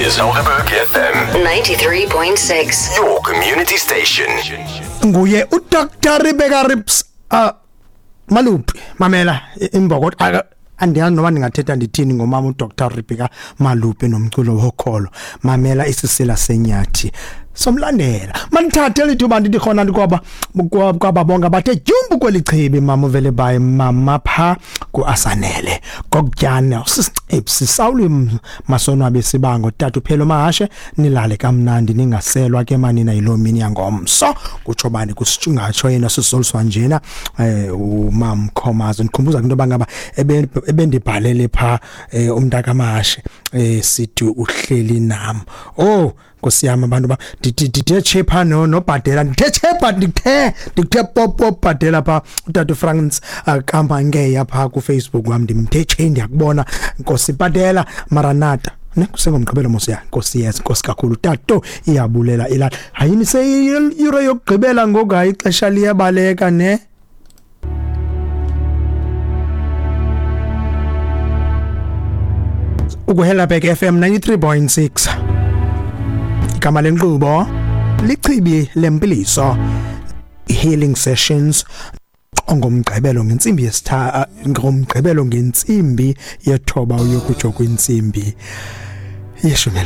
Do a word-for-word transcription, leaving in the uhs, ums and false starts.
is Helderberg F M ninety-three point six. Your community station. Nguye uDoctor Rebecca Rips uh, Malupi mamela imboko andiyazi noma ndingathetha ndithini ngomama uDoctor Rebecca Malupi nomculo wokholo. Mamela isisila senyathi somlandela manithathe lithuba ndithi khona ndikwaba kwaba bonke bathe jumbu kwelichibi mama uvele baye mama pha kuAsanele kokutyana sisicipsi sawuli masonwabe sibango tata uphelo mahashe nilale kamnandi ningaselwa ke manina yilomini yangomso kutsho bani kusitshingatsho yena sisoliswa njena eh umam Khomazo ndikhumbuza into bangaba ebendibhalele pha umntaka mahashe eh sithi uhleli nam. Oh Nkosi yami abantu ba ndithe chepa no nobhadela ndithe chepa ndithe ndithe pop pop bhadela pha utata France Kampangeya pha ku Facebook wami ndimthe che ndiyakubona Nkosi bhadela Maranatha ne kusengomgqibelo mos ya Nkosi yes Nkosi kakhulu tato iyabulela ilala hayini seyiyure yokugqibela ngoku hayi ixesha liyabaleka ne. Ukuhelabek F M ninety-three point six. Igama lenkqubo lichibi lempiliso healing sessions ngomgqibelo ngentsimbi yesitha ngomgqibelo ngentsimbi yethoba uyokutsho kwintsimbi yeshumi.